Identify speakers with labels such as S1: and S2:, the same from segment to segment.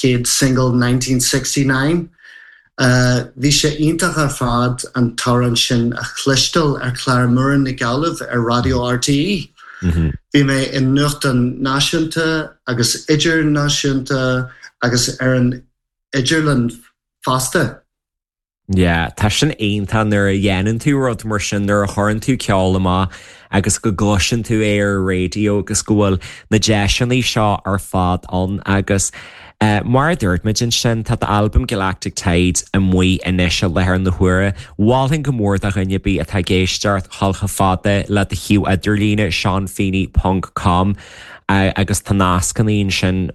S1: chéad single 1969. Bhí sé iontach ar fad an t-amhrán sin a chloisteáil ar chlár Muireann Nic Amhlaoibh ar Raidió RTÉ. Bhí mé i nuachtáin náisiúnta agus idirnáisiúnta agus ar an idirlíon fosta.
S2: Yeah, tá sin iontach nuair a dhéanann tú rud mar sin, nuair a chuireann tú ceol amach agus go gcloiseann tú é ar an raidió agus go bhfuil na deiseanna seo ar fad ann agus mar a dúirt muid ansin, tá d'albam Galactic Tides amuigh anois i láthair na huaire. Mholfainn go mór do dhuine ar bith atá ag éisteacht dhul chomh fada le do shuíomh idirlíne seanfeeny ponc com. agus tá nascanna ansin,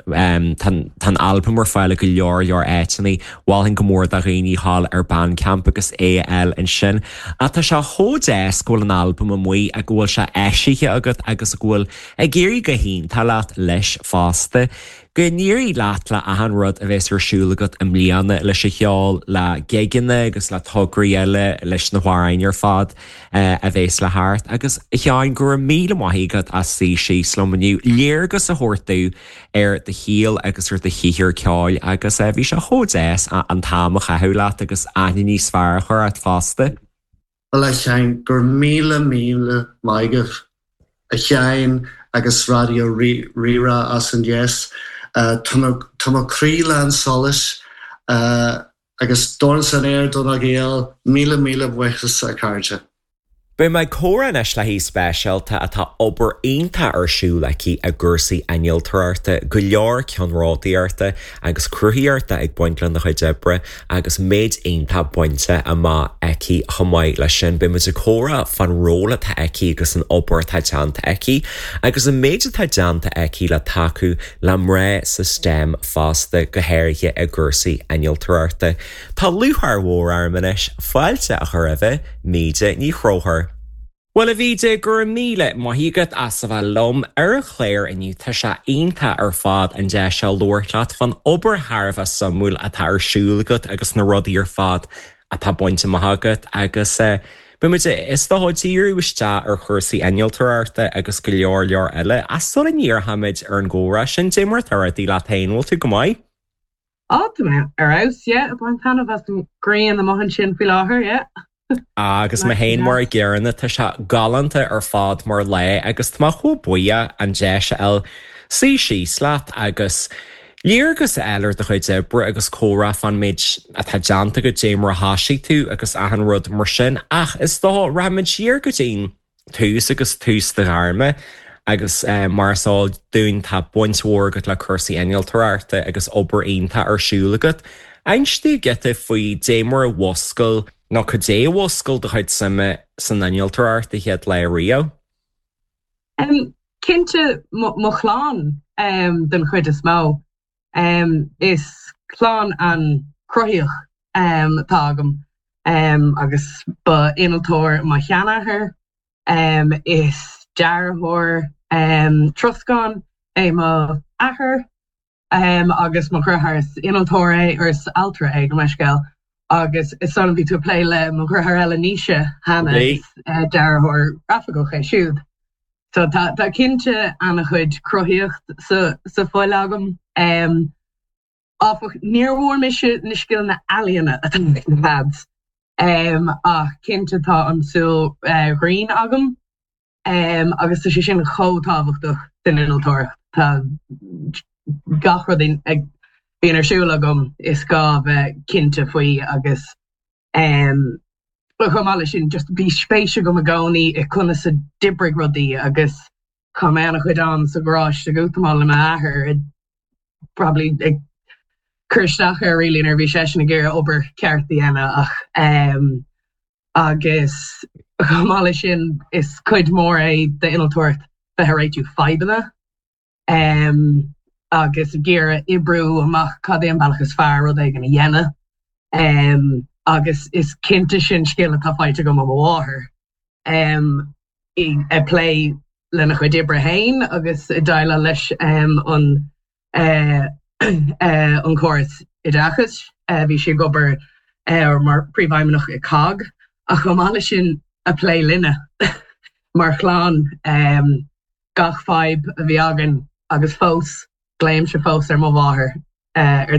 S2: tá an albam ar fáil i go leor leor áiteanna, mholfainn go mór do dhaoine dhul ar Bandcamp agus é a fháil ansin. Ach tá sé chomh deas go bhfuil an albam amuigh ag go bhfuil sé eisithe agat agus go bhfuil ag éirí go hiontach leat leis fosta. Go n-éirí leat le achan rud a bheas ar siúl agat i mbliana leis an cheol, le gigeanna agus le tograí eile, leis na hamhráin ar fad. a bhéas le theacht. Agus, a Sheáin, go raibh míle maith agat as suí síos liom inniu, léargas a thabhairt domh ar do shaol agus ar do shaothar ceoil agus bhí sé chomh deas an t-am a chaitheamh leat agus aithne níos fearr a chur ort fosta.
S1: Bhuel, a Sheáin, go raibh míle míle maith agat, a Sheáin agus Raidió Rí-Rá as an deis. Tá mo chroí lán solais. Agus dorn san aer do na Gaeil, míle míle buíochas a chairde.
S2: Beidh mé ag comhrá anois le haoi speisialta atá obair iontach ar siúl aici i gcúrsaí innealtóireachta, go leor ceannródaíochta agus cruthaíochta ag baint lena cuid oibre agus méid iontach bainte amach aici chomh maith leis sin. Beidh muid ag comhrá fán ról atá aici agus an obair atá déanta aici agus an méid atá déanta aici le tacú le mná sa STEM fosta, go háirithe i gcúrsaí innealtóireachta. Tá lúcháir mhór orm anois fáilte a chur roimh Míde Ní Chonchúir. Bhuel, a Mhíde, go raibh míle maith agat as a bheith liom ar an chlár inniu. Tá sé iontach ar fad an deis seo labhairt leat fán obair thar a bheith suimiúil atá ar siúl agat agus na rudaí ar fad atá bainte amach agat agus beidh muid, is dócha, díriú isteach ar chúrsaí innealtóireachta agus go leor leor eile. Ach sula ndíreochaimid ar an gcomhrá sin, dé mar atá rudaí leat féin, bhfuil tú go maith?
S3: Á, tá mé ar fheabhas, yeah, ag baint taitneamh as an ghrian amuigh ansin faoi láthair, yeah.
S2: Agus mé féin mar a gcéanna, tá sé galánta ar fad mar lá agus tá mé chomh buíoch an deis a fháil suí síos leat agus léargas a fháil ar do chuid oibre agus comhrá fán méid atá déanta agat, dé mar a thoisigh tú agus achan rud mar sin. Ach is dócha, rachaimid siar go dtí'n tús agus tús do ghairme agus mar is eol dúinn tá baint mhór agat le cúrsaí innealtóireachta agus obair iontach ar siúl agat. Inis domh giota faoi dé mar a mhuscail nó cad é a mhuscail do chuid suime san innealtóireacht an chéad lá riamh?
S3: Cinnte mo chlann den chuid is mó. Is clann an-chruthaíoch atá agam agus ba innealtóir mo sheanathair, is dearthóir troscáin é mo athair agus mo dheartháir is innealtóir é, or is ailtire é, gabh mo leithscéal, agus is dóigh liom bhí tú ag plé le mo dheartháir eile Naoise cheana, is dearthóir grafaiceach é siúd. So tá tá cinnte an-chuid cruthaíocht sa sa fhuil agam. Áfach, níor bhfuair mise na scileanna ealaíona atá ag na lads. Ach cinnte tá an tsúil ghrinn agam agus tá sé sin chomh tábhachtach san innealtóireacht. Tá gach rud a bhíonn ar siúl agam is gá bheith cinnte faoi agus chomh maith leis sin just bhí spéis agam i gcónaí i conas a d'oibrigh rudaí agus chaith mé an-chuid am sa gharáiste ag útamáil le m'athair probably ag cur isteach air really nuair a bhí seisean ag iarraidh obair ceart a dhéanamh ach agus chomh maith leis sin is cuid mhór é d'innealtóireacht bheith ag réitiú fadhbanna agus ag iarraidh oibriú amach cad é an bealach is fearr rud éigin a dhéanamh agus is cinnte sin scil atá faighte agam ó mo mháthair ag plé lena chuid oibre féin agus ag déileáil leis an an córas oideachais. Bhí sí ag obair mar phríomhfheidhmeannach i cogg ach chomh maith leis sin ag plé linne mar chlann gach fadhb a bhí againn agus fós glaoimse fós ar mo mháthair ar.